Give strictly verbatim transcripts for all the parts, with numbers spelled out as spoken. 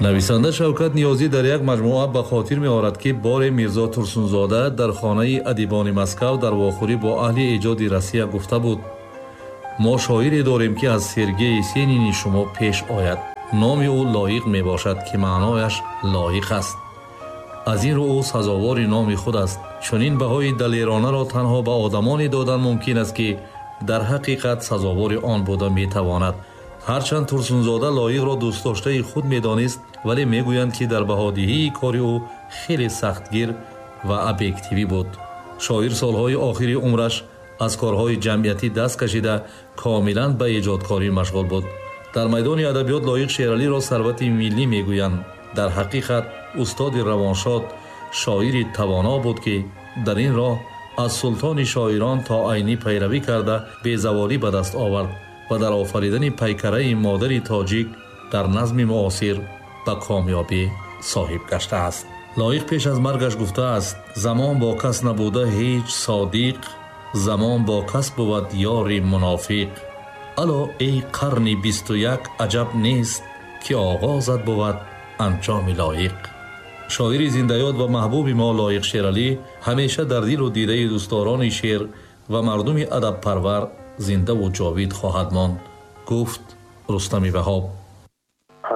Нависанда Шавкат Ниёзӣ дар як маҷмӯа ба хотир меорад, ки боре Мирзо Турсунзода дар хонаи адибони Москав дар вохӯрӣ бо аҳли эҷоди Россия гуфта буд: мо шоире дорем, ки аз Сергей Есенини шумо пеш ояд. Номи ӯ Лоиқ мебошад, ки маънояш лоиқ аст. Аз ин рӯ ӯ сазовори номи худ аст. Чунин баҳои далеронаро танҳо ба одамоне додан мумкин аст, ки дар ҳақиқат сазовори он буда метавонад. Ҳарчанд Турсунзода Лоиқро дӯстдоштаи худ медонист, вале мегӯянд, ки дар баҳодиҳии кори ӯ хеле сахтгир ва объективӣ буд. Шоир солҳои охири умраш аз корҳои ҷамъиятӣ даст кашида, комилан ба эҷодкорӣ машғул буд. Дар майдони адабиёт Лоиқ Шералиро сарвати миллӣ мегӯянд. Дар ҳақиқат устоди равоншод, шоири тавоно буд, ки дар ин роҳ аз султони шоирон то Айнӣ пайравӣ карда, безаволӣ ба даст овард ва дар офаридани пайкараи модари тоҷик дар назми муосир ба комёбӣ соҳиб гаштааст. Лоиқ пеш аз маргаш гуфтааст: замон бо кас набуда ҳеҷ содиқ, замон бо кас бувад ёри мунофиқ. Ало эй қарни бисту як, аҷаб нест, ки оғозат бувад анҷоми лоиқ. Шоири зиндаёд ва маҳбуби мо Лоиқ Шералӣ ҳамеша дар дилу дидаи дӯстдорони шеър ва мардуми адабпарвар зиндаву ҷовид хоҳад монд, гуфт Рустами Ваҳоб.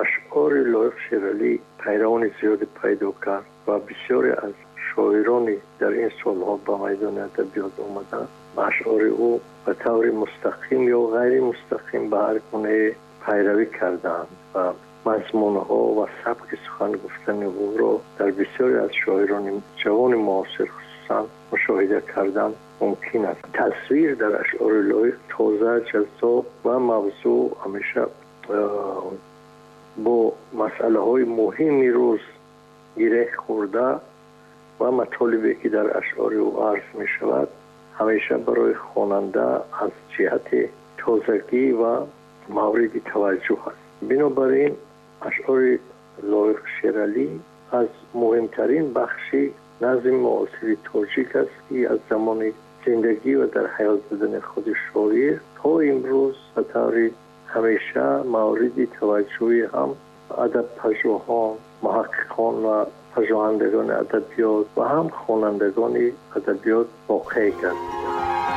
Ашъори Лоиқ Шералӣ пайравони зиёде пайдо кард ва бисёре аз шоирони дар ин солҳо ба майдони адабиёт омаданд, ба ашъори ӯ ба таври мустақим ё ғайримустақим ба ҳар гунае пайравӣ кардаанд ва мазмунҳо ва сабки сухан гуфтани ӯро дар бисёре аз шоирони ҷавони муосир хусусан мушоҳида кардан мумкин аст. Тасвир дар ашъори Лоиқ тоза, ҷаззоб ва мавзӯъ ҳамеша бо масъалаҳои муҳими рӯз гиреҳ хӯрда ва матолибе ки дар ашъори ӯ арз мешавад, ҳамеша барои хонанда аз ҷиҳати тозагӣ ва мавриди таваҷҷӯҳ аст. Бинобар ин ашъори Лоиқ Шералӣ аз муҳимтарин бахши назми муосири тоҷик аст, ки аз замони зиндагӣ ва дар ҳаёт будани худи шоир то имрӯз ба таври ҳамеша мавриди таваҷҷӯҳи ҳам адабпажӯҳон, муҳаққиқон ва пажӯҳандагони адабиёт ва ҳам хонандагони адабиёт воқеъ гардидааст.